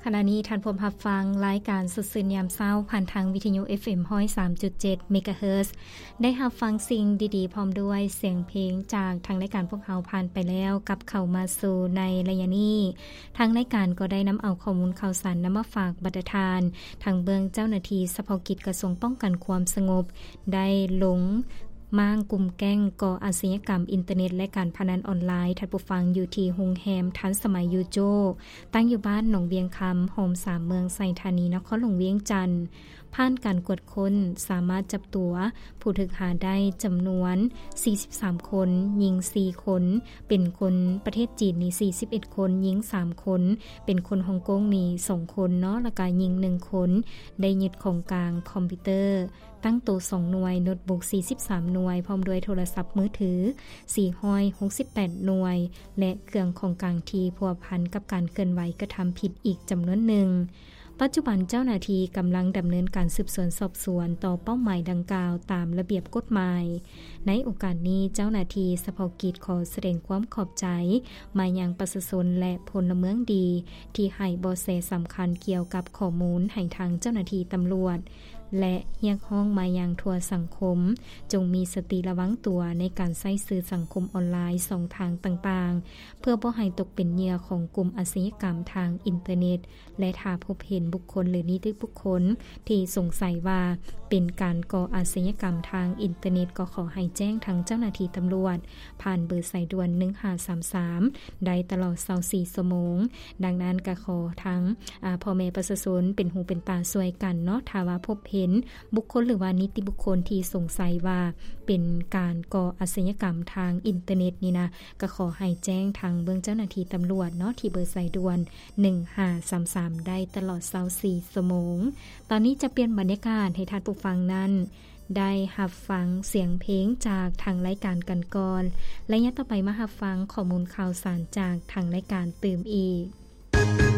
ຂະນະນີ້ທ່ານພົມຮັບຟັງລາຍການສົດຊື່ນຍາມເຊົ້າ ຜ່ານທາງວິທະຍຸ ເອັຟເອັມ ຮ້ອຍສາມຈຸດເຈັດ ເມກາເຮີດ. ໄດ້ຮັບຟັງສິ່ງດີໆ ພ້ອມດ້ວຍສຽງເພງຈາກທາງລາຍການພວກເຮົາຜ່ານໄປແລ້ວ, ກັບເຂົ້າມາສູ່ໃນໄລຍະນີ້, ທາງລາຍການກໍໄດ້ນຳເອົາຂໍ້ມູນຂ່າວສານນຳມາຝາກບັນດາທ່ານ, ທັງເບື້ອງເຈົ້າໜ້າທີ່ສະເພາະກິດກະຊວງປ້ອງກັນຄວາມສະຫງົບ ໄດ້ລົງມ້າງກຸ່ມແກ້ງກໍ່ອາຊະຍາກຳອິນເຕີເນັດ ແລະ ການພະນັນອອນລາຍ, ທ່ານຜູ້ຟັງ, ຢູ່ທີ່ໂຮງແຮມທັນສະໄໝຢູໂຈ ຕັ້ງຢູ່ບ້ານໜອງວຽງຄຳ, ໂຮມສາມເມືອງໄຊທານີ, ນະຄອນຫຼວງວຽງຈັນ. ຜ່ານການກວດຄົ້ນ, ສາມາດຈັບຕົວຜູ້ຖືກຫາໄດ້ຈຳນວນສີ່ສິບສາມຄົນ, ຍິງສີ່ຄົນ, ເປັນຄົນປະເທດຈີນນີ້ສີ່ສິບເອັດຄົນ, ຍິງສາມຄົນ, ເປັນຄົນຮົງກົງນີ້ສອງຄົນເນາະ, ແລ້ວກະຍິງໜຶ່ງຄົນ. ໄດ້ຍຶດຂອງກາງຄອມພິວເຕີ ຕັ້ງໂຕສອງໜ່ວຍ, ໂນ້ດບຸກສີ່ສິບສາມໜ່ວຍ, ພ້ອມດ້ວຍໂທລະສັບມືຖືສີ່ຮ້ອຍຫົກສິບແປດໜ່ວຍ ແລະ ເຄື່ອງຂອງກາງທີ່ພົວພັນກັບການເຄື່ອນໄຫວກະທຳຜິດອີກຈຳນວນໜຶ່ງ. ປັດຈຸບັນເຈົ້າໜ້າທີ່ກຳລັງດຳເນີນການສືບສວນສອບສວນຕໍ່ເປົ້າໝາຍດັ່ງກ່າວຕາມລະບຽບກົດໝາຍ. ໃນໂອກາດນີ້, ເຈົ້າໜ້າທີ່ສະເພາະກິດຂໍສະແດງຄວາມຂອບໃຈມາຍັງປະຊາຊົນ ແລະ ພົນລະເມືອງດີ ທີ່ໃຫ້ເບາະແສສຳຄັນກ່ຽວກັບຂໍ້ມູນໃຫ້ທາງເຈົ້າໜ້າທີ່ຕຳຫຼວດ ແລະ ຮຽກຮ້ອງມາຍັງທົ່ວສັງຄົມ ຈົ່ງມີສະຕິລະວັງຕົວໃນການໃຊ້ສື່ສັງຄົມອອນລາຍຊ່ອງທາງຕ່າງໆ ເພື່ອບໍ່ໃຫ້ຕົກເປັນເຫຍື່ອຂອງກຸ່ມອາຊະຍາກຳທາງອິນເຕີເນັດ ແລະ ຖ້າພົບເຫັນບຸກຄົນ ຫຼື ນິຕິບຸກຄົນທີ່ສົງໄສວ່າເປັນການກໍ່ອາຊະຍາກຳທາງອິນເຕີເນັດ ກໍຂໍໃຫ້ແຈ້ງທາງເຈົ້າໜ້າທີ່ຕຳຫຼວດ ຜ່ານເບີສາຍດ່ວນໜຶ່ງຫ້າສາມສາມ ໄດ້ຕະຫຼອດຊາວສີ່ຊົ່ວໂມງ. ດັ່ງນັ້ນກໍຂໍທາງ ອາ ພໍ່ແມ່ປະຊາຊົນເປັນຫູເປັນຕາຊ່ວຍກັນເນາະ, ຖ້າວ່າພົບເຫັນບຸກຄົນ ຫຼື ວ່ານິຕິບຸກຄົນທີ່ສົງໄສວ່າເປັນການກໍ່ອາຊະຍາກຳທາງອິນເຕີເນັດນີ້ນະ, ກໍຂໍໃຫ້ແຈ້ງທາງເບື້ອງເຈົ້າໜ້າທີ່ຕຳຫຼວດເນາະ ທີ່ເບີສາຍດ່ວນໜຶ່ງຫ້າສາມສາມ ໄດ້ຕະຫຼອດຊາວສີ່ຊົ່ວໂມງ. ຕອນນີ້ຈະປ່ຽນບັນຍາກາດໃຫ້ທ່ານຜູ້ຟັງນັ້ນ ໄດ້ຮັບຟັງສຽງເພງຈາກທາງລາຍການກັນກ່ອນ ໄລຍະຕໍ່ໄປມາຮັບຟັງຂໍ້ມູນຂ່າວສານຈາກທາງລາຍການຕື່ມອີກ.